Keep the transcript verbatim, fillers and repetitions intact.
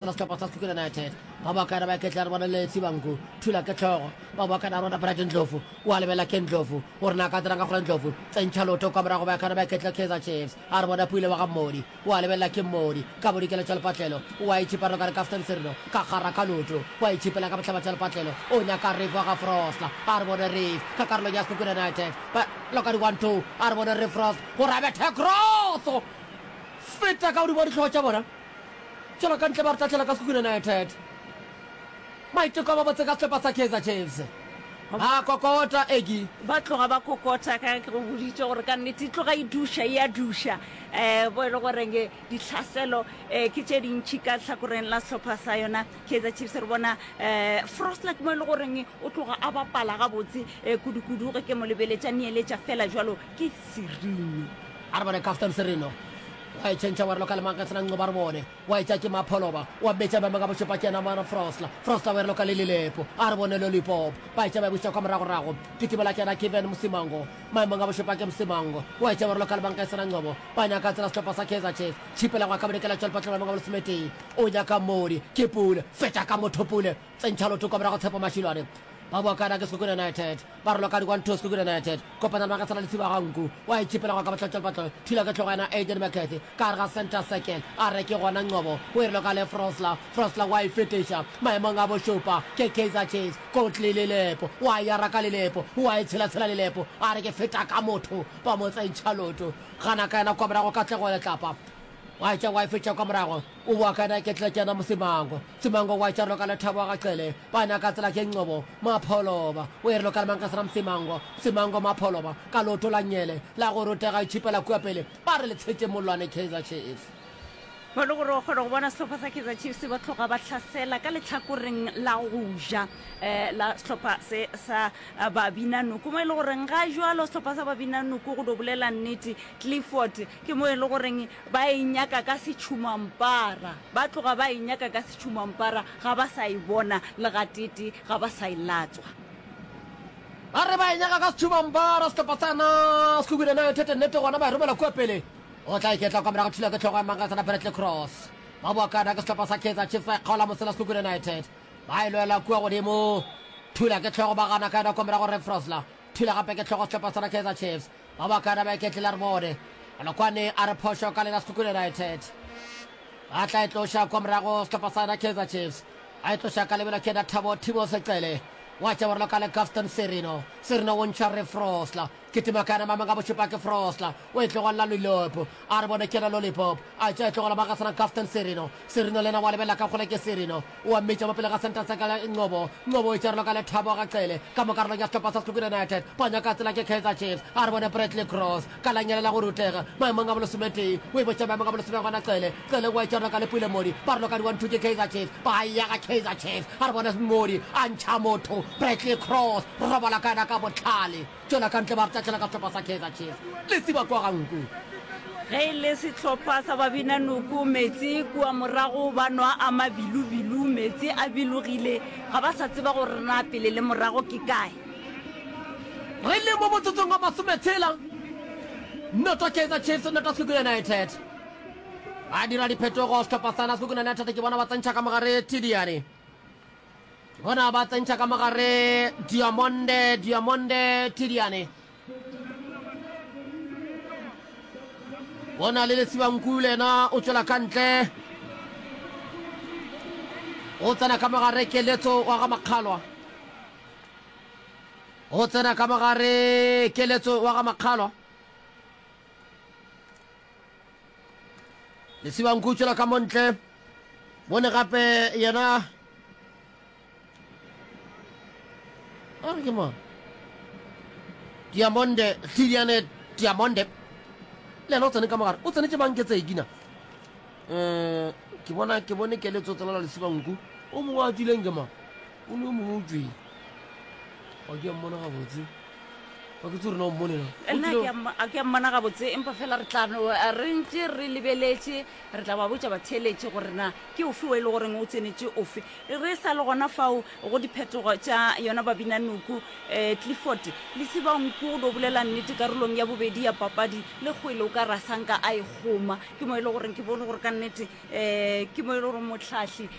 Sehlopha sa Sekhukhune United ba bokana ba iketla re bone le Sibanku thula ke hlogo ba bokana rona Bright Ndlovu wa lebela ke Ndlovu gore na ka dirang ka gore Ndlovu tsentšha loto kwa morago ba kana ba iketla Kaizer Chiefs a re bone Pule wa ga Mmodi wa lebelela ke Mmodi ka bodikela tša lepatlelo wa itšhipa re ka re Gaston Sirino ka gara ka loto wa itšhipela ka bohlaba tša lepatlelo o nyaka Reef wa ga Frosla a re bone Reef ka karolong ya Sekhukhune United ba loka di one two a re bone Reef Frost gore a bethe cross feta ka godimo ga dihlogo tša bona. Tšwela ka ntle ba re tahlela ka Sekhukhune United. Maiteko a mabotse ka sehlopha sa Kaizer Chiefs. Ba kokota Egi. Ba tloga ba kokota ka ge ke go boditše gore ka nnete e tloga e duša, e a duša. Um bo e le goreng ditlhaselo um ke tše dintši ka hlakoreng la sehlopha sa yona Kaizer Chiefs. Re bona um Frosler ke mo e le goreng o tloga a bapala gabotse um kudu-kudu ge ke mo lebeletša neeletša fela jwalo ke Serino. A re bone Caston Serino wa e tšhentšha wa re loka le mang sena nqoba re bone wa e tša ke Mapholoba wa betša ba ka bošupa ke yena mana Frosla Frosla wa e re loka le Lilepo a re bone Lollipop ba e tša ba e buša kwa moragorago kitimela ke yena Kevin Msimango maemong a bošupa ke Msimango wa e tša wa re loka le mang sena nqobo ba nyaka tsela sehlopha sa Kaizer Chiefs tšhipela gwa ka bodikela tšwelpatlo maemong a bolesometee o nyaka Modi ke Pule fetša ka motho Pule tsentšha lotho kwa morago Tshepo Mashilwane ba boa kana ke Sekhukhune United ba re loka di one two Sekhukhune United kopana le Magasela Lesiba ga nku wa itšhipela go ka bohlatšwa lepatlo thula ke hlogo yena Aiden McCarthy ka gare ga center circle a re ke gona Ncobo o e re loka le Frosler Frosler wa e fetiša maemong a bošupa ke Kaizer Chiefs Kotli Lelepo wa e ara ka Lelepo wa e tshelatshela Lelepo a re ke feta ka motho ba mo tsentšha loto gana ka yena kwa morago Katlego Letlapa Wa etša wa e fetša kwa morago, o boa ka yena ke tla ke yena Mosimango. Simango wa etša roka Lethabo ga Cele, ba nyaka tsela ke Ncobo, Mapholoba. O e re loka le mang ka sena Msimango, Msimango Mapholoba, ka leoto la nnyele la go rutega e tšhipela kua pele, ba re le tshetše mollwane Kaizer Chiefs. Mo e le gore o kgona go bona sehlopha sa Kaizer Chiefs ba tloga ba hlasela ka lehlakoreng la go ja la sehlopha se sa Babinanoko, mo e le goreng ga jwalo sehlopha sa Babinanoko go do bolela nnete Clifford Ke mo e le goreng ba e nyaka ka setšhumampara. Ba tloga ba e nyaka ka setšhumampara, ga ba sa e bona le gateetee, ga ba sa e latswa. Ba re ba e nyaka ka setšhumampara, sehlopha sa na Sekhukhune United, nnete gona ba e romela kua pele. Go tla iketla kwa morago, thula ke hlogo ya Mangasana Bradley Cross. Ba boa kana ke sehlopha sa Kaizer Chiefs, ba e kgaola mosela Sekhukhune United. Ba e lwela kua godimo, thula ke hlogo, ba gana ka yona kua morago Ray Frosler. Thula gape ke hlogo sehlopha sa na Kaizer Chiefs. Ba bakana ba iketlile re bone. Malokwane a re phošo ka lena Sekhukhune United. Ba tla e tloša kwa morago sehlopha sa yona Kaizer Chiefs. Ba e tloša ka lebelo ke yena Thabo Thibo Secele. Wa tša borelo ka le Gaston Sirino. Sirino o ntšha re Frosler. Kitima ka yena mameng a bošupa ke Frosler. O e tlogelela Lollipop. A re bone ke yena Lollipop. A tša e tlogela Magasana Gaston Sirino. Sirino le yena wa lebelela ka kgole ke Sirino. O a mmitša mo pele ga Centre Circle Ncobo. Ncobo o itšerelo ka lethabo ga Cele ka mo karolong ya sehlopha sa Sekhukhune United. Ba nyaka tsela ke Kaizer Chiefs. A re bone Bradley Cross ka la nnyele la go rutega maemong a bolesometee. O e botša maemong a bolesome gona Cele. Cele o a itšerelo ka Lepule Modi. Ba relo ka di one two ke Kaizer Chiefs. Ba ya ga Kaizer Chiefs. A re bone Modi a ntšha motho. Bradley Cross robala ka yena ka bohlale. Tšwela ka ntle ba re tlatšela ka sehlopha sa Kaizer Chiefs. Lesiba kua ga nku. Ge e le sehlopha sa Babinanoko, meetse kua morago ba nwa a mabilubilu, meetse a bilogile, ga ba sa tseba gore na pele le morago ke kae. Re le mo motsotsong wa masometshela, noto Kaizer Chiefs, noto Sekhukhune United. Ba dira diphetogo sehlopha sa Sekhukhune United ke bona ba tsentšha ka mogare Tidiane. Ke bona ba tsentšha ka mogare Diamonde, Diamonde Tidiane. Bona le Lesibanku le yena o tšwela ka ntle. O tsena ka mogare Keletso wa ga Makgalwa. O tsena ka mogare Keletso wa ga Makgalwa. Lesibanku o tšwela ka mo ntle. Bone gape yena a re ke mang Diamonde Tliliane Diamonde le yena o tsene ka mogare o tsenetše mang ke tsekina um ke bona ke bone keletso tsenela lesibanku o mongwe a tswileng ke mang o ne o mongwe o tswile ga ke a mmona gabotse Ga ke tsore na o mmone na. Nna ke a mmo- a ke a mmona gabotse, empa fela re tla no re ntše re lebeletše, re tla ba botša batheeletše gore na ke ofe o e le goreng o tsenetše ofe. Re sa le gona fao go diphetogo tša yona Babinanuku, um Clifford Lesibanku go do bolela nnete karolong ya bobedi ya papadi le kgwele o ka ra sanka a e kgoma. Ke mo e le goreng ke bone gore ka nnete um ke mo e le gore mohlahli